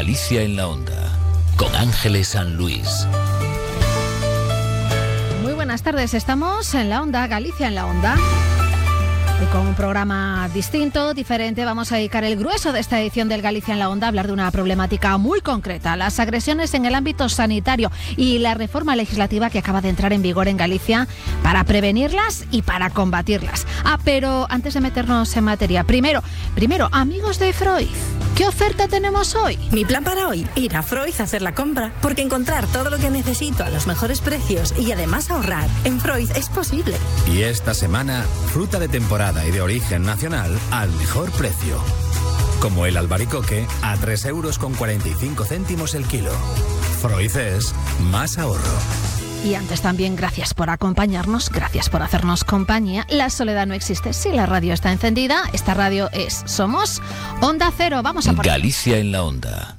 Galicia en la Onda, con Ángeles San Luis. Muy buenas tardes, estamos en la Onda, Galicia en la Onda. Y con un programa distinto, diferente, vamos a dedicar el grueso de esta edición del Galicia en la Onda a hablar de una problemática muy concreta, las agresiones en el ámbito sanitario y la reforma legislativa que acaba de entrar en vigor en Galicia para prevenirlas y para combatirlas. Pero antes de meternos en materia, primero, amigos de Freud, ¿qué oferta tenemos hoy? Mi plan para hoy, ir a Freud a hacer la compra, porque encontrar todo lo que necesito a los mejores precios y además ahorrar en Freud es posible. Y esta semana, fruta de temporada y de origen nacional al mejor precio. Como el albaricoque a 3,45 € el kilo. Freud es más ahorro. Y antes también, gracias por acompañarnos, gracias por hacernos compañía. La soledad no existe si la radio está encendida. Esta radio somos Onda Cero. Vamos a por Galicia en la Onda.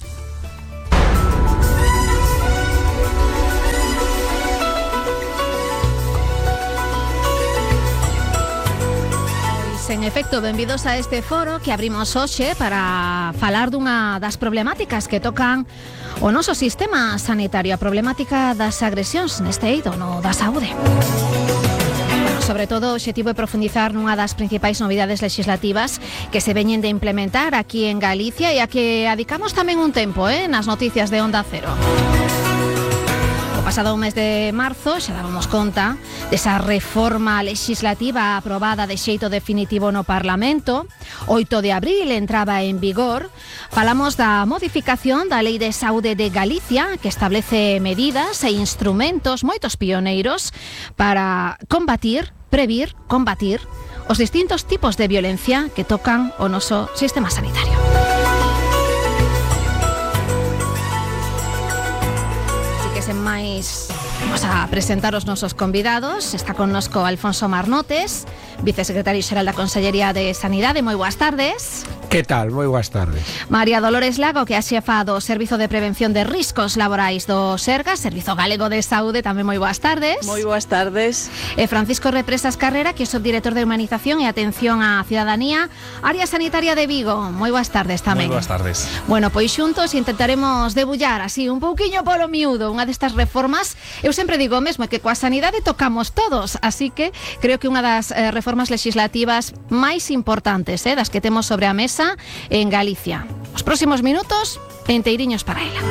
En efecto, benvidos a este foro que abrimos hoxe para falar dunha das problemáticas que tocan o noso sistema sanitario, a problemática das agresións neste eido no da saúde. Sobre todo, o obxectivo é profundizar nunha das principais novidades legislativas que se veñen de implementar aquí en Galicia e a que adicamos tamén un tempo nas noticias de Onda Cero. O pasado mes de marzo xa dábamos conta desa reforma legislativa aprobada de xeito definitivo no Parlamento. 8 de abril entraba en vigor. Falamos da modificación da Lei de Saúde de Galicia, que establece medidas e instrumentos moitos pioneiros para combatir os distintos tipos de violencia que tocan o noso sistema sanitario. Sen máis, vamos a presentar os nosos convidados. Está connosco Alfonso Marnotes, vicesecretario xeral da Consellería de Sanidade. Moi boas tardes. Que tal? Moi boas tardes. María Dolores Lago, que é a xefa do Servizo de Prevención de Riscos Laborais do Sergas, Servizo Galego de Saúde, tamén moi boas tardes. Moi boas tardes. E Francisco Represas Carrera, que é subdirector de Humanización e Atención á Cidadanía, Área Sanitaria de Vigo. Moi boas tardes tamén. Moi boas tardes. Bueno, pois xuntos intentaremos debullar así un pouquiño polo miúdo unha destas reformas. Eu sempre digo o mesmo, que coa sanidade tocamos todos, así que creo que unha das reformas legislativas máis importantes, das que temos sobre a mesa en Galicia. Os próximos minutos enteiriños para ela.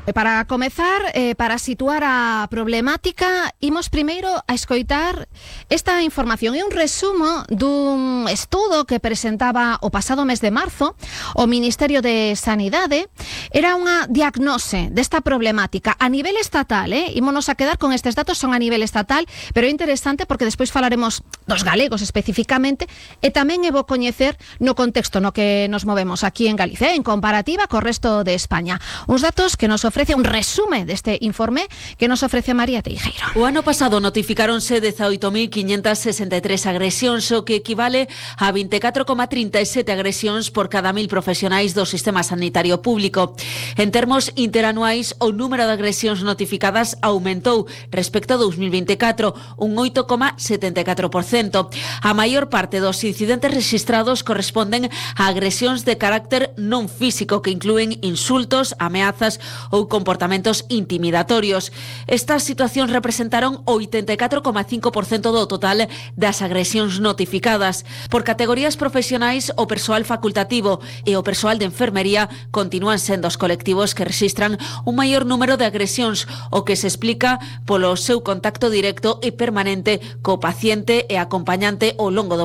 Para comezar, para situar a problemática, imos primeiro a escoitar esta información. É un resumo dun estudo que presentaba o pasado mes de marzo o Ministerio de Sanidade. Era unha diagnose desta problemática a nivel estatal, Ímonos a quedar con estes datos, son a nivel estatal, pero é interesante porque despois falaremos dos galegos especificamente e tamén é bo coñecer no contexto no que nos movemos aquí en Galicia, en comparativa co resto de España. Uns datos que nos ofrece un resume deste informe que nos ofrece María Teijeiro. O ano pasado notificáronse 18.563 agresións, o que equivale a 24,37 agresións por cada 1.000 profesionais do sistema sanitario público. En termos interanuais, o número de agresións notificadas aumentou respecto a 2024, un 8,74%. A maior parte dos incidentes registrados corresponden a agresións de carácter non físico que inclúen insultos, ameazas ou comportamentos intimidatorios. Estas situacións representaron o 84,5% do total das agresións notificadas. Por categorías profesionais, o persoal facultativo e o persoal de enfermería continúan sendo os colectivos que registran un maior número de agresións, o que se explica polo seu contacto directo e permanente co paciente e acompañante ao longo do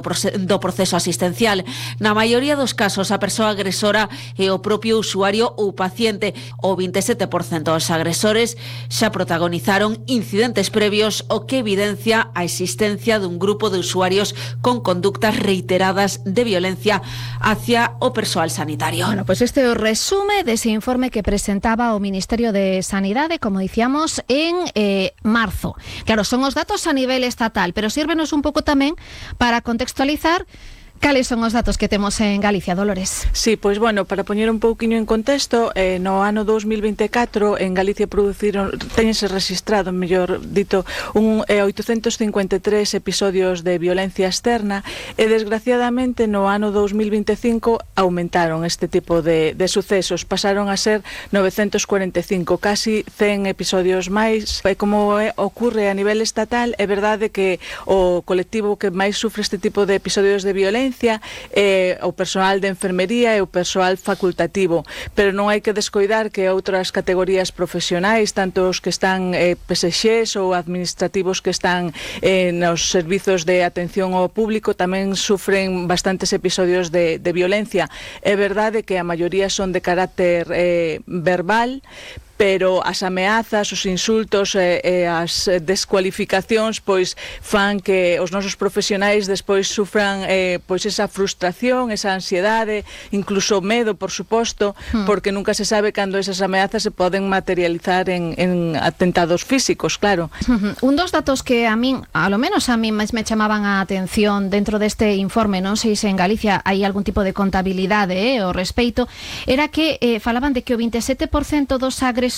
proceso asistencial. Na maioría dos casos, a persoa agresora é o propio usuario ou paciente. O 27% dos agresores xa protagonizaron incidentes previos, o que evidencia a existencia dun grupo de usuarios con conductas reiteradas de violencia hacia o persoal sanitario. Bueno, pues este é o resume dese informe que presentaba o Ministerio de Sanidade, como dicíamos, en marzo. Claro, son os datos a nivel estatal, pero sírvenos un pouco tamén para contextualizar Cales son os datos que temos en Galicia, Dolores? Sí, pois bueno, para poñer un pouquiño en contexto, no ano 2024 en Galicia teñense registrado, mellor dito, 853 episodios de violencia externa e desgraciadamente no ano 2025 aumentaron este tipo de sucesos, pasaron a ser 945, casi 100 episodios máis. Como ocurre a nivel estatal, é verdade que o colectivo que máis sufre este tipo de episodios de violencia o persoal de enfermería e o persoal facultativo, pero non hai que descoidar que outras categorías profesionais, tanto os que están PSXs ou administrativos que están nos servizos de atención ao público, tamén sufren bastantes episodios de violencia. É verdade que a maioría son de carácter verbal, pero as ameazas, os insultos e as descualificacións pois fan que os nosos profesionais despois sufran pois esa frustración, esa ansiedade, incluso medo, por suposto, porque nunca se sabe cando esas ameazas se poden materializar en atentados físicos, claro. Un dos datos que a min, a lo menos a mí máis me chamaban a atención dentro deste informe, non sei se en Galicia hai algún tipo de contabilidade ao respeito, era que falaban de que o 27% dos agresores,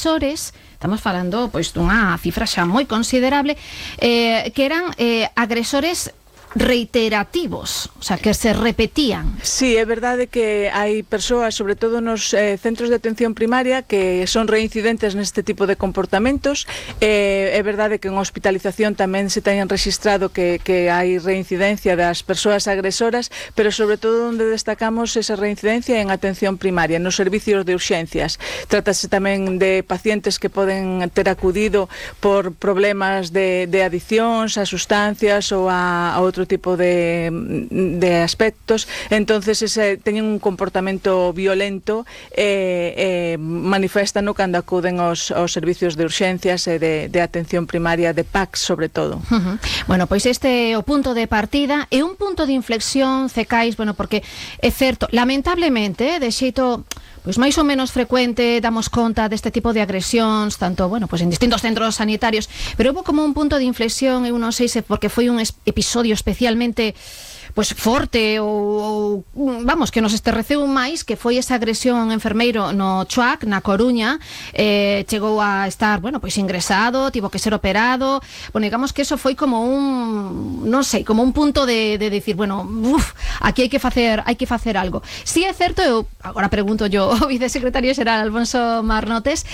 estamos falando pois dunha cifra xa moi considerable, que eran agresores reiterativos, o sea, que se repetían. Sí, é verdade que hai persoas, sobre todo nos centros de atención primaria, que son reincidentes neste tipo de comportamentos. É verdade que en hospitalización tamén se teñen registrado que hai reincidencia das persoas agresoras, pero sobre todo onde destacamos esa reincidencia en atención primaria, nos servicios de urxencias. Trátase tamén de pacientes que poden ter acudido por problemas de adiccións a sustancias ou a outro tipo de aspectos, entonces teñen un comportamento violento e maniféstano cando acuden aos servicios de urxencias e de atención primaria, de PACS sobre todo. Bueno, pois este é o punto de partida e un punto de inflexión, Cecais, bueno, porque é certo, lamentablemente, de xeito pois máis ou menos frecuente damos conta deste tipo de agresións, tanto, bueno, pois en distintos centros sanitarios, pero houve como un punto de inflexión, eu non sei se porque foi un episodio especialmente pois forte ou vamos, que nos esterreceu máis, que foi esa agresión a un enfermeiro no Chuac, na Coruña, chegou a estar, bueno, pois ingresado, tivo que ser operado. Bueno, digamos que eso foi como un, non sei, como un punto de decir, bueno, aquí hai que facer algo. Si é certo, eu agora pregunto yo ao vicesecretario xeral Alfonso Marnotes,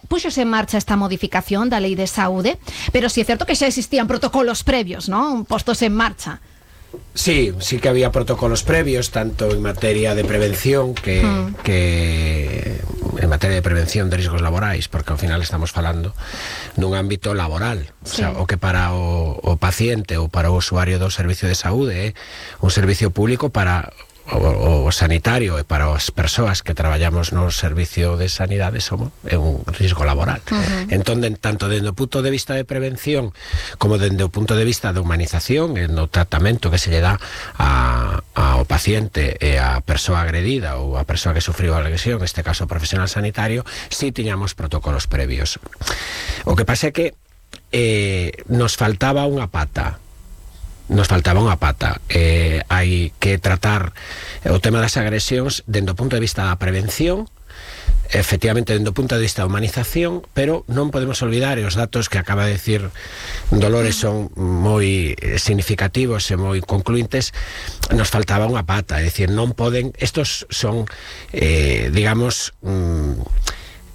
puxose en marcha esta modificación da Lei de Saúde, pero si é certo que xa existían protocolos previos, non? Postos en marcha. Sí que había protocolos previos, tanto en materia de prevención que en materia de prevención de riscos laborais, porque ao final estamos falando nun ámbito laboral, sí. O sea, o que para o paciente ou para o usuario do servicio de saúde é un servicio público para o sanitario e para as persoas que traballamos no servicio de sanidade é un risco laboral. Entón, tanto dende o punto de vista de prevención como dende o punto de vista de humanización e no tratamento que se lle dá ao paciente e á persoa agredida ou á persoa que sufriu a agresión, neste caso profesional sanitario, si tiñamos protocolos previos. O que pasa é que nos faltaba unha pata. Hai que tratar o tema das agresións dende o punto de vista da prevención, efectivamente dende o punto de vista da humanización, pero non podemos olvidar, e os datos que acaba de decir Dolores son moi significativos e moi concluintes, nos faltaba unha pata, é dicir, non poden, estos son digamos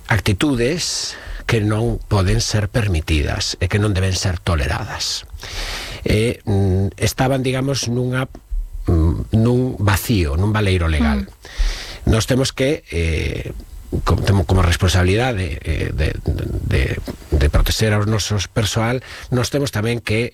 actitudes que non poden ser permitidas e que non deben ser toleradas. Estaban, digamos, nun vacío, nun baleiro legal. Nós temos que como responsabilidade de proteger aos nosos persoal, nós temos tamén que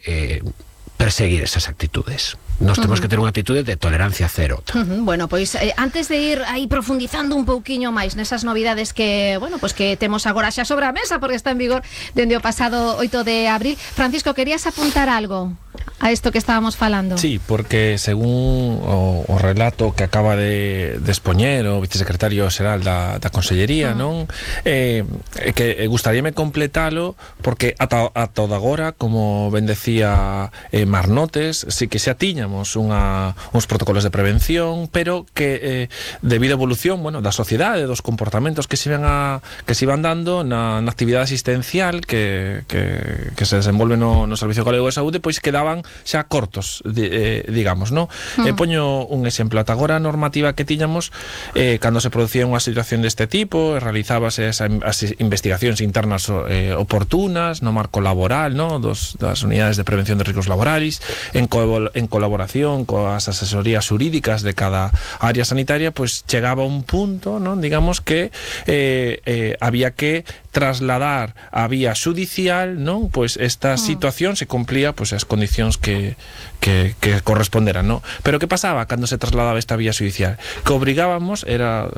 perseguir esas actitudes. Nós temos que ter unha actitude de tolerancia cero. Bueno, pois antes de ir aí profundizando un pouquiño máis nesas novidades que, bueno, pois que temos agora xa sobre a mesa porque está en vigor dende o pasado 8 de abril, Francisco, querías apuntar algo? a isto que estábamos falando? Sí, porque según o relato que acaba de expoñer o vicesecretario xeral da Consellería, non? Que gustaríame completalo, porque ata agora, como ben decía Marnotes, sí que xa tiñamos uns protocolos de prevención, pero que debido á evolución, bueno, da sociedade, dos comportamentos que se iban dando na actividade asistencial que se desenvolve no Servicio Galego de Saúde, pois quedaban xa cortos, digamos, non? Poño un exemplo. Ata agora a normativa que tiñamos, cando se producía unha situación deste tipo, realizábase as investigacións internas oportunas no marco laboral, non? Das unidades de prevención de riscos laborais, en colaboración coas asesorías xurídicas de cada área sanitaria, pois chegaba un punto, non? Digamos que había que trasladar a vía xudicial, non? Pois esta situación se cumplía pois as condicións que corresponderan, non? Pero que pasaba cando se trasladaba esta vía xudicial? Que obrigábamos, era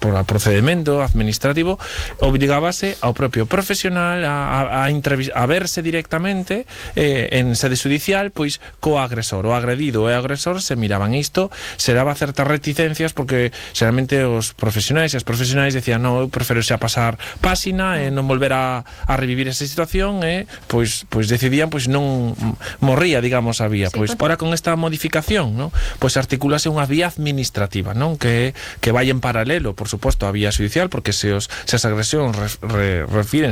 por procedimento administrativo, obrigábase ao propio profesional a verse directamente en sede xudicial, pois co agresor. O agredido e o agresor se miraban isto, se daba certas reticencias, porque xeralmente os profesionais e as profesionais decían, non, eu prefiro xa pasar páxina e non volver a revivir esa situación, e pois decidían, pois non morría, digamos, a vía. Pois ora con esta modificación, non? Pois articúlase unha vía administrativa, non? Que vai en paralelo, por suposto, a vía xudicial, porque se as agresións refiren